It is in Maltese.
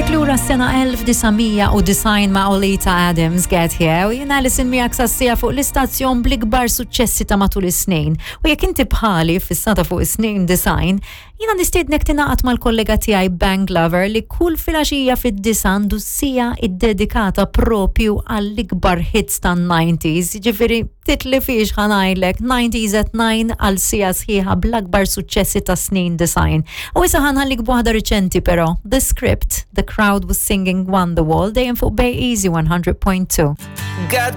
Ħadtek lura s-sena 1990 ma' Olita Adams Get Here u jiena Alison miegħek sassija fuq l-istazzjon bl-ikbar suċċessi ta' matul is-snin. U jekk inti bħali fissata fuq is-snin design, jiena nistiednek tingħaqad mal-kollega tiegħi Bank Lover li kull filgħaxija fid-disa għandu sija iddedikata propju għall-ikbar hits tan-90s. Ġifieri titlifix ħa ngħidlek 90s at 9 għal sija sħiħa bl-akbar suċċessi ta' snin design. U issa ħa nħallik b'waħda riċenti però, The Script, The Crowd Was Singing Wonderwall, dejjem fuq Bay Easy 100.2. Got